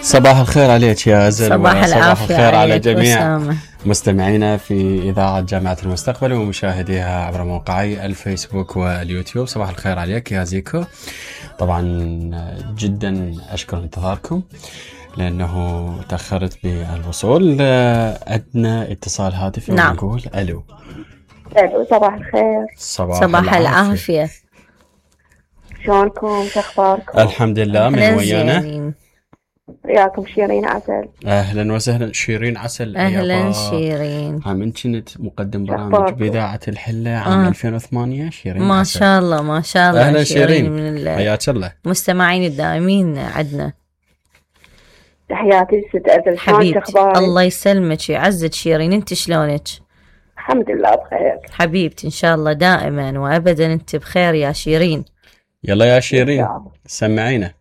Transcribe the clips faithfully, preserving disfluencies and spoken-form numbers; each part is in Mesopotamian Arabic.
صباح الخير عليك يا أزل. صباح صباح الخير على جميع وسامة. مستمعينا في إذاعة جامعة المستقبل ومشاهديها عبر موقعي الفيسبوك واليوتيوب. صباح الخير عليك يا زيكو. طبعا جدا أشكر انتظاركم لأنه تأخرت بالوصول. عندنا اتصال هاتفي. نعم. ونقول ألو. ألو صباح الخير. صباح, صباح العافية. شلونكم؟ شخباركم؟ الحمد لله. من ويانا؟ وياكم شيرين عسل. أهلا وسهلا شيرين عسل. أهلا شيرين. من كنت مقدم برامج بإذاعة الحلة عام آه. ألفين وثمانية. شيرين ما عسل. شاء الله ما شاء الله. أهلا شيرين، من حياك الله. المستمعين الدائمين عندنا. تحياتي ست أزل. حبيبتي الله يسلمك يعزك شيرين. انت شلونك؟ الحمد لله بخير حبيبتي إن شاء الله دائما وأبدا انت بخير يا شيرين. يلا يا شيرين سمعينا.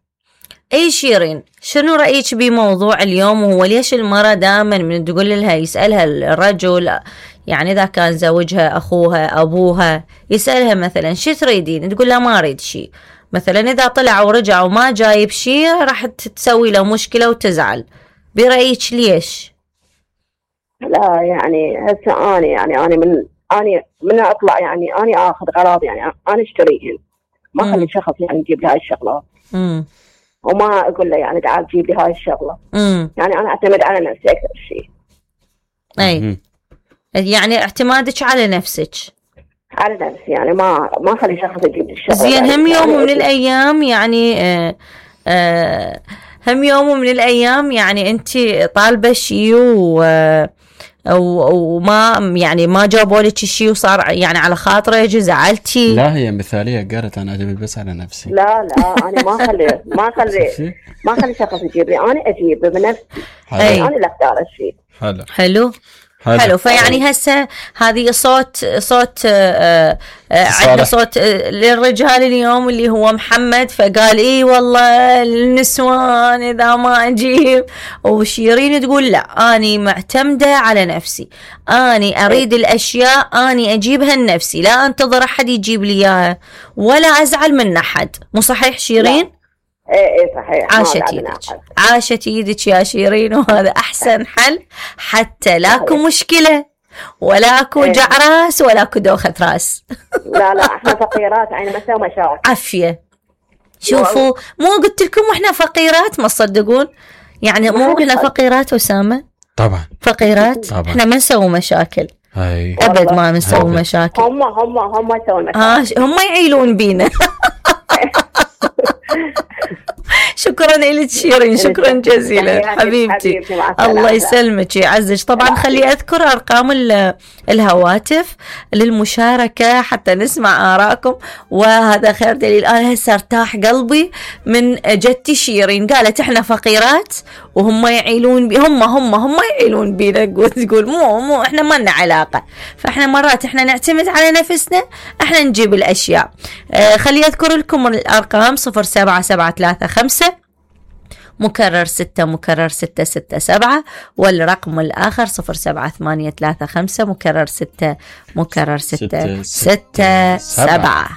اي شيرين، شنو رأيك بموضوع اليوم؟ وهو ليش المرأة دائما من تقول لها يسألها الرجل، يعني إذا كان زوجها أخوها أبوها، يسألها مثلا شو تريدين؟ تقول له ما أريد شيء. مثلا إذا طلع ورجع وما جايب شيء راح تسوي له مشكلة وتزعل. برأيك ليش؟ لا يعني هسه أنا يعني أنا من أنا من أطلع يعني أنا آخذ غراض يعني أنا أشتريهن، ما أخلي شخص يعني يجيب لي هاي الشغلات. امم وما أقول له يعني تعال جيب لي هاي الشغلة. امم يعني أنا أعتمد على نفسي أكثر شيء. أي مم. يعني اعتمادك على نفسك. على نفسي يعني ما ما أخلي شخص يجيب لي الشغلة. زين يعني هم يوم يعني من الأيام يعني آه آه هم يوم من الأيام يعني أنت طالبة شيء و وما يعني ما جابوا لك شيء وصار يعني على خاطرك زعلتي. لا هي مثالية قالت أنا أعتمد بس على نفسي. لا لا أنا ما أخلي ما أخلي ما أخلي شخص يجيب لي، أنا أجيب بنفسي. أي. أنا اللي أختار الشيء. حلو حلو حلو, حلو. فيعني هسه هذه صوت صوت آه آه عندنا صوت آه للرجال اليوم اللي هو محمد، فقال اي والله النسوان اذا ما اجيب. وشيرين تقول لا اني معتمدة على نفسي، اني اريد الاشياء اني اجيبها لنفسي، لا انتظر احد يجيب لي اياها ولا ازعل من احد. مو صحيح شيرين؟ ايه ايه صحيح. عاشت يدك عاشت يدك يا شيرين، وهذا احسن حل حتى لاكو مشكلة ولا اكو ايه. وجع راس ولا اكو دوخة راس. لا لا احنا فقيرات يعني ما نسوي مشاكل. عافية. شوفوا مو قلت لكم واحنا فقيرات ما تصدقون؟ يعني مو احنا فقيرات أسامة؟ طبعا فقيرات. طبعا. احنا ما نسوي مشاكل هاي. ابد ما نسوي أبد. مشاكل. هم هم هم يسوون مشاكل. آه هم يعيلون بينا. شكرا لك شيرين، شكرا جزيلا حبيبتي. الله يسلمك يعزك. طبعا خلي أذكر أرقام الهواتف للمشاركة حتى نسمع آراءكم، وهذا خير دليل. أنا هسه ارتاح قلبي من جدتي شيرين، قالت إحنا فقيرات وهم يعيلون بي. هم هم هم يعيلون بينا. تقول مو مو إحنا ما لنا علاقة. فإحنا مرات إحنا نعتمد على نفسنا، إحنا نجيب الأشياء. آه خلي أذكر لكم الأرقام صفر سبعة سبعة ثلاثة خمسة مكرر ستة مكرر ستة ستة سبعة، والرقم الآخر صفر سبعة ثمانية ثلاثة خمسة مكرر ستة مكرر ستة ستة سبعة.